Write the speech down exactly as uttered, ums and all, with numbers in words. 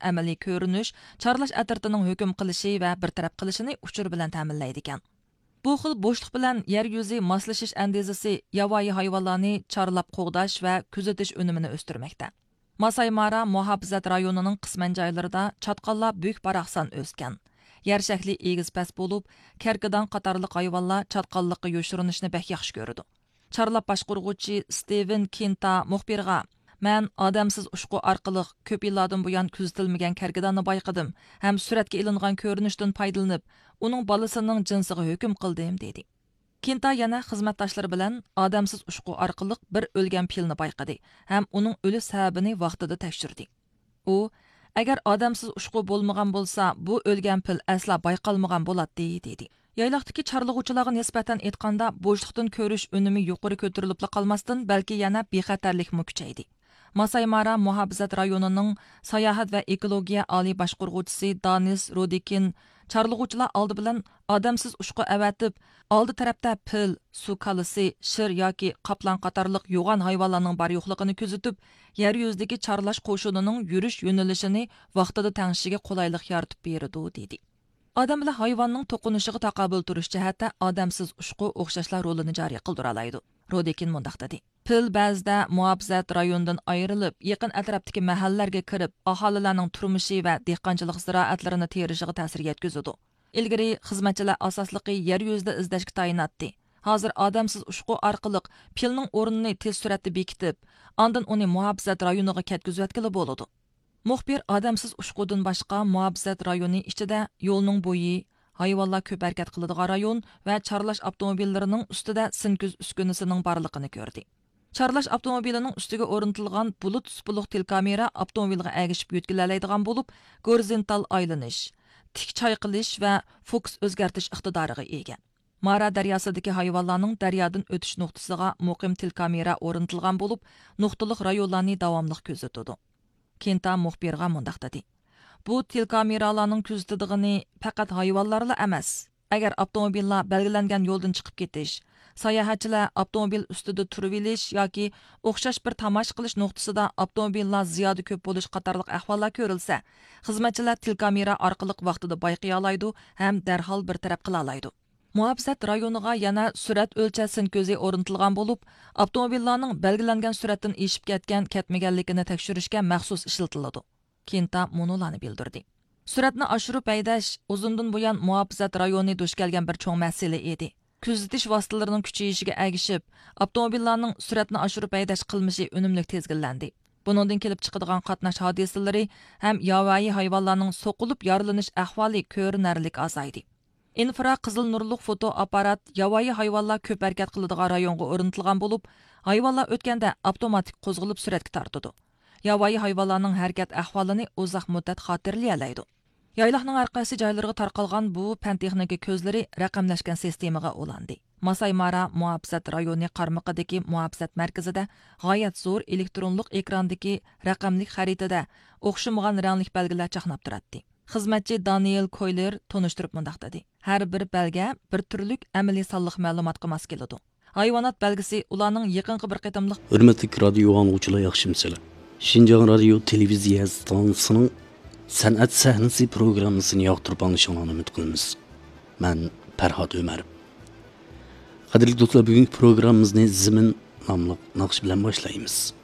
ئەمەلىي كۆرۈنۈش، چارلاش ئەترىتىنىڭ ھۆكۈم قىلىشى ۋە بىر تەرەپ قىلىشىنى ئۇچۇر بىلەن تەمىنلەيدىكەن. بۇ خىل بوشلۇق بىلەن يەر يۈزى ماسلىشىش ئەندىزىسى ياۋايى ھايۋانلارنى چارلاپ قوغداش ۋە كۆزىتىش ئۈنۈمىنى ئۆستۈرمەكتە. ماسايمارا مۇھاپىزەت رايونىنىڭ قىسمەن جايلىرىدا چاتقاللار بۈك-باراقسان ئۆسكەن. يەر شەكلى ئېگىز-پەس بولۇپ، كەركىدان قاتارلىق ھايۋانلار چاتقاللىققا يوشۇرۇنۇشنى بەك ياخشى كۆرىدۇ. چارلاپ باشقۇرغۇچى ستىۋېن كىنتا مۇخبىرغا، مەن ئادەمسىز ئۇچقۇ ئارقىلىق كۆپ يىللاردىن بۇيان كۆزىتىلمىگەن كەركىداننى بايقىدىم ھەم سۈرەتكە ئېلىنغان كۆرۈنۈشتىن پايدىلىنىپ، ئۇنىڭ بالىسىنىڭ جىنسىغا ھۆكۈم قىلدىم، دېدى. كىنتا يەنە خىزمەتداشلىرى بىلەن ئادەمسىز ئۇچقۇ ئارقىلىق بىر ئۆلگەن پىلنى بايقىدى ھەم ئۇنىڭ ئۆلۈش سەۋەبىنى ۋاقتىدا تەكشۈردى. ئۇ، ئەگەر ئادەمسىز ئۇچقۇ بولمىغان بولسا، بۇ ئۆلگەن پىل ئەسلا بايقالمىغان بولاتتى، دېدى. يايلاقتىكى چارلىغۇچىلارغا نىسبەتەن ئېيتقاندا، بوشلۇقتىن كۆرۈش ئۈنۈمى يۇقىرى كۆتۈرۈلۈپلا قالماستىن، بەلكى يەنە بىخەتەرلىكمۇ كۈچەيدى. ماسايمارا مۇھاپىزەت رايونىنىڭ ساياھەت ۋە ئېكولوگىيە ئالىي باشقۇرغۇچىسى دانىس رودىكىن، چارلىغۇچىلار ئالدى بىلەن ئادەمسىز ئۇچقۇ ئەۋەتىپ، ئالدى تەرەپتە پىل، سۇ كالىسى، شىر ياكى قاپلان قاتارلىق يوغان ھايۋانلارنىڭ بار-يوقلۇقىنى كۆزىتىپ، يەر يۈزىدىكى چارلاش قوشۇنىنىڭ يۈرۈش يۆنىلىشىنى ۋاقتىدا تەڭشىشىگە قولايلىق يارىتىپ بېرىدۇ، دېدى. ئادەم بىلەن ھايۋاننىڭ توقۇنۇشىغا تاقابىل تۇرۇش جەھەتتە ئادەمسىز ئۇچقۇ ئوخشاشلا رولىنى جارى قىلدۇرالايدۇ. رودىكىن مۇنداق دېدى، پىل بەزىدە مۇھاپىزەت رايونىدىن ئايرىلىپ، يېقىن ئەتراپتىكى مەھەللىلەرگە كىرىپ، ئاھالىلەرنىڭ تۇرمۇشى ۋە دېھقانچىلىق زىرائەتلىرىنى تېرىشىغا تەسىر يەتكۈزىدۇ. ئىلگىرى خىزمەتچىلەر ئاساسلىقى يەر يۈزىدە ئىزدەشكە تايىناتتى. ھازىر ئادەمسىز ئۇچقۇ ئارقىلىق پىلنىڭ ئورنىنى تېز سۈرئەتتە بېكىتىپ، ئاندىن ئۇنى مۇھاپىزەت رايونىغا كەتكۈزۈۋەتكىلى بولىدۇ. مۇخبىر ئادەمسىز ئۇچقۇدىن باشقا مۇھاپىزەت رايونى ئىچىدە يولنىڭ بويى، ھايۋانلار كۆپ ھەرىكەت قىلىدىغان رايون ۋە چارلاش ئاپتوموبىللىرىنىڭ ئۈستىدە سىنكۈز ئۈسكۈنىسىنىڭ بارلىقىنى كۆردى. چارلاش ئاپتوموبىلىنىڭ ئۈستىگە ئورنىتىلغان بۇلۇت سۇپىلىق تېلېكامېرا ئاپتوموبىلغا ئەگىشىپ يۆتكىلەلەيدىغان بولۇپ، گورىزونتال ئايلىنىش، تىك چايقىلىش ۋە فوكۇس ئۆزگەرتىش ئىقتىدارىغا ئىگە. مارا دەرياسىدىكى ھايۋانلارنىڭ دەريادىن ئۆتۈش نۇقتىسىغا مۇقىم تېلېكامېرا ئورنىتىلغان بولۇپ، نۇقتىلىق رايونلارنى داۋاملىق كۆزىتىدۇ. كېنتا مۇخبىرغا مۇنداق دېدى، بۇ تېلېكامېرالارنىڭ كۆزىتىدىغىنى پەقەت ھايۋانلارلا ئەمەس. ئەگەر ئاپتوموبىللار بەلگىلەنگەن يولدىن چىقىپ كېتىش، ساياھەتچىلەر ئاپتوموبىل ئۈستىدە تۇرۇۋېلىش ياكى ئوخشاش بىر تاماشا قىلىش نۇقتىسىدا ئاپتوموبىللار زىيادە كۆپ بولۇش قاتارلىق ئەھۋاللار كۆرۈلسە، خىزمەتچىلەر تېلېكامېرا ئارقىلىق ۋاقتىدا بايقىيالايدۇ ھەم دەرھال بىر تەرەپ قىلالايدۇ. مۇھاپىزەت رايونىغا يەنە سۈرئەت ئۆلچەش سىنكۈزى ئورنىتىلغان بولۇپ، ئاپتوموبىللارنىڭ بەلگىلەنگەن سۈرئەتتىن ئېشىپ كەتكەن، كەتمىگەنلىكىنى تەكشۈرۈشكە مەخسۇس ئىشلىتىلىدۇ. كېنتا مۇنۇلارنى بىلدۈردى. سۈرئەتنى ئاشۇرۇپ ھەيدەش ئۇزۇندىن بۇيان مۇھاپىزەت رايونى دۇچ كەلگەن بىر چوڭ مەسىلە ئىدى. كۆزىتىش ۋاسىتىلىرىنىڭ كۈچىيىشىگە ئەگىشىپ، ئاپتوموبىللارنىڭ سۈرئەتنى ئاشۇرۇپ ھەيدەش قىلمىشى ئۈنۈملۈك تىزگىنلەندى. بۇنىڭدىن كېلىپ چىقىدىغان قاتناش ھادىسىلىرى ھەم ياۋايى ھايۋانلارنىڭ سوقۇلۇپ يارىلىنىش ئەھۋالى كۆرۈنەرلىك ئازايدى. ئىنفرا قىزىل نۇرلۇق فوتو ئاپپارات ياۋايى ھايۋانلار كۆپ ھەرىكەت قىلىدىغان رايونغا ئورنىتىلغان بولۇپ، ھايۋانلار ئۆتكەندە ئاپتوماتىك قوزغىلىپ سۈرەتكە تارتىدۇ. ياۋايى ھايۋانلارنىڭ ھەرىكەت ئەھۋالىنى ئۇزاق مۇددەت خاتىرىلىيەلەيدۇ. يايلاقنىڭ ھەر قايسى جايلىرىغا تارقالغان بۇ پەن تېخنىكا كۆزلىرى رەقەملەشكەن سىستېمىغا ئۇلاندى. ماسايمارا مۇھاپىزەت رايونى قارمىقىدىكى مۇھاپىزەت مەركىزىدە غايەت زور ئېلېكترونلۇق ئېكراندىكى رەقەملىك خەرىتىدە ئوخشىمىغان رەڭلىك بەلگىلەر چاقناپ تۇراتتى. خىزمەتچى دانىيېل كويلېر تونۇشتۇرۇپ مۇنداق دېدى، ھەر بىر بەلگە بىر تۈرلۈك ئەمەلىي سانلىق مەلۇماتقا ماس كېلىدۇ. ھايۋانات بەلگىسى ئۇلارنىڭ يېقىنقى بىر قېتىملىق ھۆرمەتلىك رادىيو ئاڭلىغۇچىلار، ياخشىمۇسىلەر؟ شىنجاڭ رادىيو تېلېۋىزىيە ئىستانسىسىنىڭ سەنئەت سەھنىسى پروگراممىسىنى ياقتۇرۇپ ئاڭلىشىڭلارنى ئۈمىد قىلىمىز. مەن پەرھات ئۆمەر. قەدىرلىك دوستلار، بۈگۈنكى پروگراممىمىزنى زېمىن ناملىق ناخشا بىلەن باشلايمىز.